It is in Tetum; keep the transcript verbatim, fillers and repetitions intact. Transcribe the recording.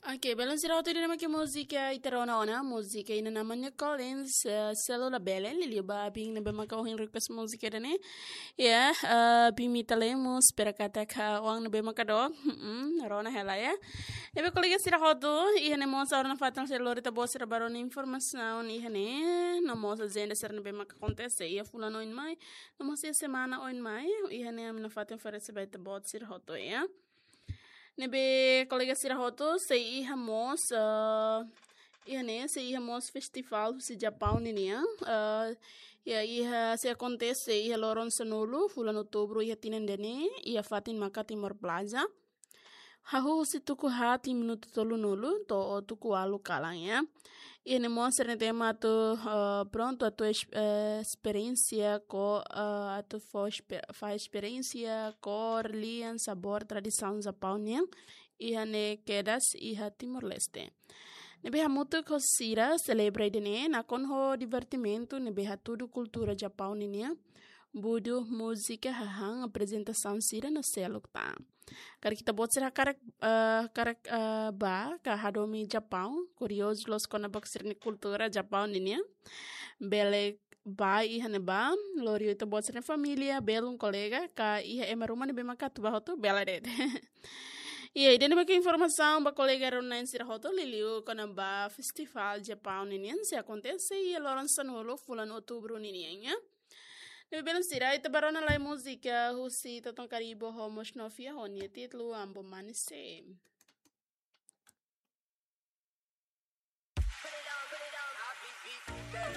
Oke, belun sira hotu, ida-ne'e mak múzika ita rona ona, múzika iha naran New Collins, eh, Selu La Belle, liuliu ba abin ne'ebé maka ohin request múzika ida-ne'e. Ya, eh, abin Mita Lemos, espera katak oan ne'ebé maka dook, mm, rona hela ya. Ne'ebé kolega sira hotu, iha ne'e mós agora nafatin sei lori ita-boot sira ba rona informasaun iha ne'e, no mós ajenda sira ne'ebé maka akontese iha fulan oin mai, no mós iha semana oin mai, iha ne'e ami nafatin oferese ba ita-boot sira hotu ya. Ne'ebé kolega sira hotu, sei iha mós, eh, iha ne'e, sei iha mós festivál husi Japaun ninian, eh, ya, iha sei akontese iha loron sanulu fulan Outubru iha tinan ida-ne'e, iha fatin maka Timor Plaza. Hahú husi tuku haat iha minutu tolunulu to'o tuku ualu kalan ya. Iha ne'e mós sira-nia tema atu, eh, prontu atu es-, eh, esperiénsia ko, eh, atu fó espe-, fahe esperiénsia kór, lian, sabór tradisaun Japaun nian iha ne'e kedas iha Timor-Leste. Ne'ebé hamutuk ho sira selebra ida-ne'e nakonu ho divertimentu ne'ebé hatudu kultura Japaun ninian, budu, múzika, hahán, aprezentasaun sira no seluk tan. Karik ita-boot sira hakarak, eh, hakarak, eh, bá ka hadomi Japaun, kuriozu loos kona-ba sira-nia kultura Japaun ninian, bele bá iha ne'ebá, lori ita-boot sira-nia família, belun kolega, ka iha ema ruma ne'ebé maka atu bá hotu, bele de'it. Ya, ida-ne'e mak informasaun ba kolega rona-na'in sira hotu, liuliu kona-ba festivál Japaun ninian sei akontese iha loron sanulu fulan Outubru ninian ya. Ne'ebé belun sira, ita bá rona lai múzika husi Toton Karibu ho Mos Novia ho nia títulu Ambo Manise.